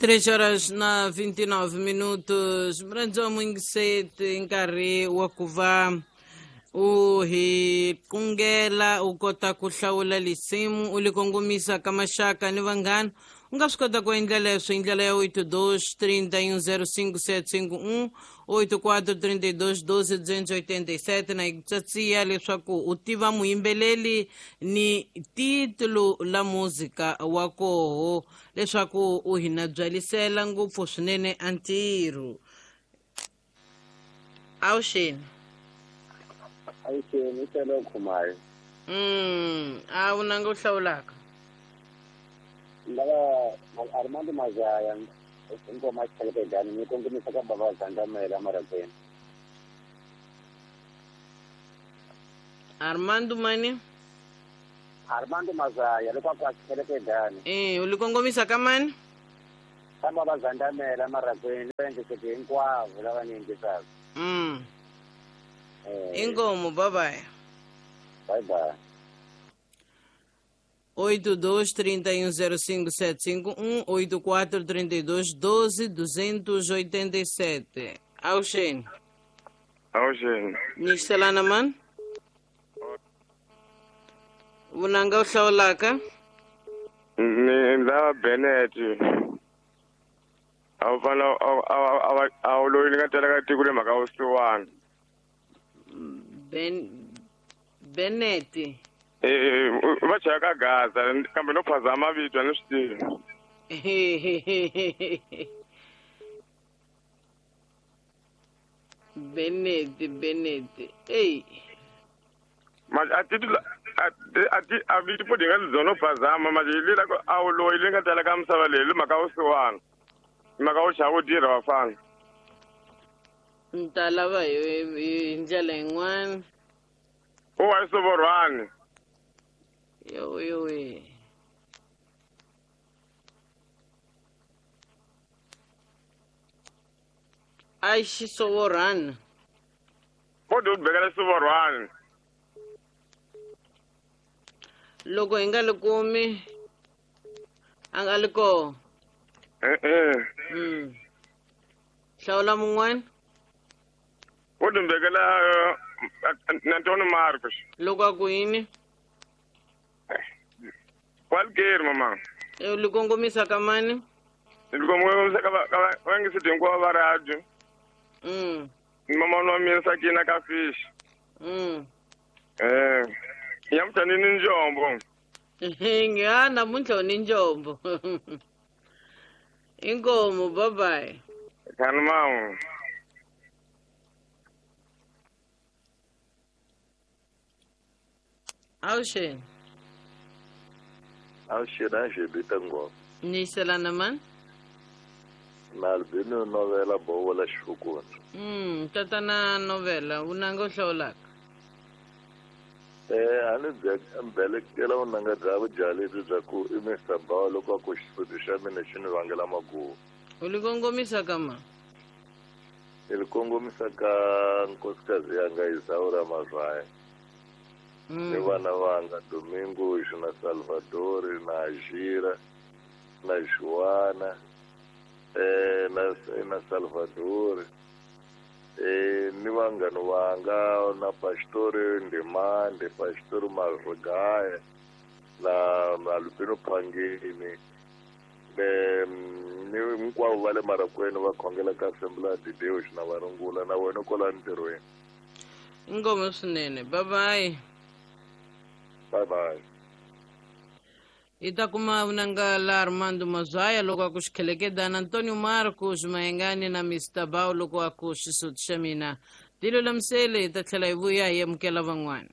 3 horas na 29 minutos. Mrandzi wa mwingiseti nkarhi wa ku va u hi kungela u kota ku hlawula lisimu u li kongomisa ka maxaka ni vanghana. U nga swi kota ku endla leswo hi ndlela ya 82 31 05751 84 32 12 287 na hi tsatsiya leswaku u tiva muyimbeleli ni titulo la muzika wa koho leswaku u hi na byalisela ngopfu swinene a ntirho. Awuxeni. Awuxeni, i Khumayo. A wu nanga u hlawulaka. Ndava Armando Mazaya ngoma xikhelekedani ni kongomisa ka baba Zandamela Marakweni. Armando mani? Armando Mazaya loko a xikhelekedani. U li kongomisa ka mani? Ka baba Zandamela Marakweni va hinkwavo lava ni yingisaka. Inkomo, bye bye. Bye bye. 82 31 05 751 84 32 12 287. Awuxeni. Awuxeni. Nyikiselana mani? Vunanga u hlawulaka? Ni ndza Bennett. A wu fana a wu loyi ni nga tela ka tiko le mhaka vusiwana. Bennett. Va chaya ka Gaza kambe no phazama mavito a ni swi tivi. Bennett. Ey. Ma a ti a vito po dinga zono phazama ma li la a wu loyi le nga tela ka misava leyi le mhaka vusiwana. Mhaka wu chava wu tirha vafana. Ni ta lava hi ndlela yin'wana. U wa Sovorhwani. Yo yo. A Xisovorhwana. Kodwa u bekela Sovorhwani. Loko hi nga li kumi a nga li koho. Hlawula mun'wana. U dumbekela Antonio Marcos. Loko a ku yini? Kwalukeri mama. U li kongomisa ka mani? Li kongomisa ka va ngiseti hinkwavo va radio. Mama wa mina Sakina ka fish. Nyamutlha ni njombo. Nga namuntlha u ni njombo. Inkomo, bye bye. Khani mama. Awuxeni. Awuxeni a xebita ngoma. Nyiselana mani? Na Albino novela bovola xifukuni. Tatana novela vunanga u hlawulaka. A ni belekela vunanga bya vudyaleti bya ku i Mr. Bawa loko a ku xisuti xa mina xi ni vangela maguva. U li kongomisa ka ma? Ni li kongomisa ka nkosikazi yanga Isaura Mazwaya. Ni vana vanga Domingos na Salvador na Ajira na Joana na Salvador ni vanghana vanga na Pastor Ndimande, Pastor Marugaya na Albino Phangeni ni hinkwavo va le Marakweni va khongela ka Assembly de Deus na varungula na wena kwala ntirhweni. Inkomo swinene. Bye bye. Bye bye. Hi ta kuma vunanga la Armando Mazwaya loko a ku xikhelekedana, Antonio Marcos Mayengani na Mr. Bao loko a ku xisuti xa mina. Tilulamisele hi ta tlhela hi vuya hi amukela van'wana.